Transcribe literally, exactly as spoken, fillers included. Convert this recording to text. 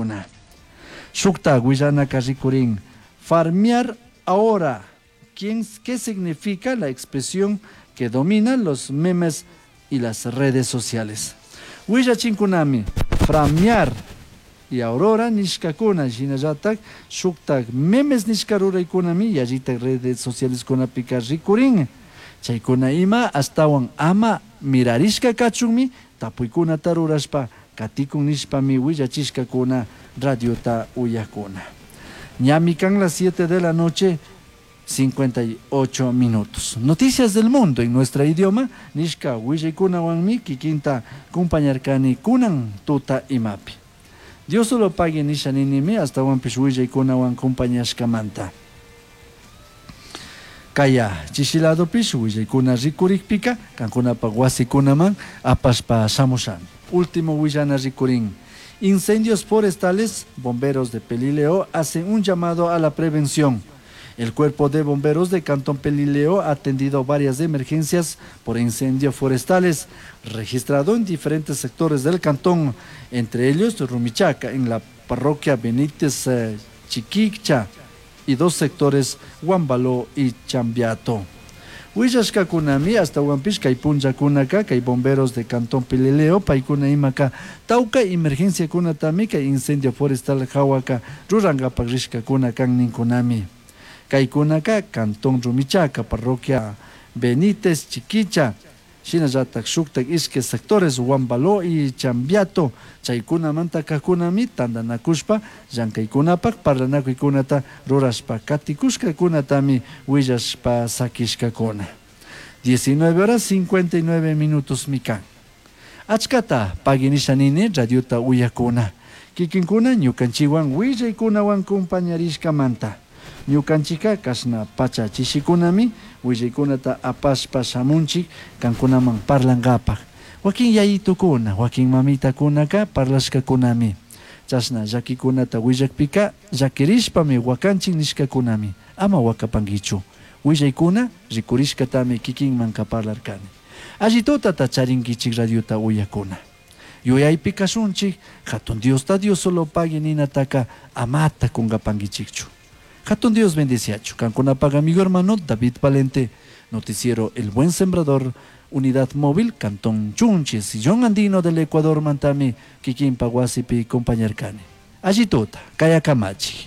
nishkakuna. Shukta willanaka rikurin farmear ahora. ¿Quién, ¿Qué significa la expresión que domina los memes y las redes sociales? Willachinkunami, framear y aurora nishkakuna shinallatak shuktak memes nishka ruraykunami yallitak redes sociales kunapika rikurin. Chaykuna ima ashtawan ama mirarishka kachunmi tapuykunata rurashpa katikun nishpami willachishkakuna radiota uyakuna. Ñami kan las siete de la noche, cincuenta y ocho minutos. Noticias del mundo en nuestro idioma, nishka willaykunawanmi kikinta kumpañarkani kunan tuta imapi. Dios solo pagui nisha ninimi ashtawanpish willaykunawan kumpañashkamanta. Kaya chishiladopish willaykuna rikurikpika kankunapak wasikunaman apashpa shamushami. Último willana rikurin. Incendios forestales, bomberos de Pelileo hacen un llamado a la prevención. El cuerpo de bomberos de Cantón Pelileo ha atendido varias emergencias por incendios forestales registrado en diferentes sectores del cantón, entre ellos Rumichaca, en la parroquia Benítez eh, Chiquicha y dos sectores, Huambaló y Chambiato. Willashkakunami ashtawanpish kay punllakunaka kay bomberos de Cantón Pelileo paykuna imaka tawka emergenciakunatami kay incendio forestal hawaka rurankapak rishkakuna kan ninkunami. Kaykunaka Cantón Rumichaca, parroquia Benítez Chiquicha, shinallatak shuktak ishkay sectores, Huambaló y Chambiato, chaykunamanta kajkunami tantanakushpa llankaykunapak parlanakuykunata rurashpa katikushkakunatami willashpa sakishkakuna. diecinueve horas cincuenta y nueve minutos mi kan. Achkata pagui nisha nini radiota uyakuna. Kikinkuna ñukanchikwan willaykunawan kumpañarishkamanta. Ñukanchika kashna pacha chishikunami willaykunata apashpa shamunchik kankunaman parlankapak. Wakin yayitukuna, wakin mamitakunaka parlashkakunami. Chashna llakikunata willakpika llakirishpami wakanchik nishkakunami. Ama wakapankichu. Willaykuna rikurishkatami kikinmanka parlarkani. Alli tutata charinkichik radiota uyakuna. Yuyaypi kashunchik, hatun Diosta Dios solo pagui ninataka amata kunkapankichikchu. Hatun Dios bendiciachu. Kankunapak amigo hermano David Valente, noticiero El Buen Sembrador, Unidad Móvil, Cantón Chunchi, Sillón Andino del Ecuador, mantami, kikinpa wasipi kumpañarkani. Alli tuta, kaya kamachi.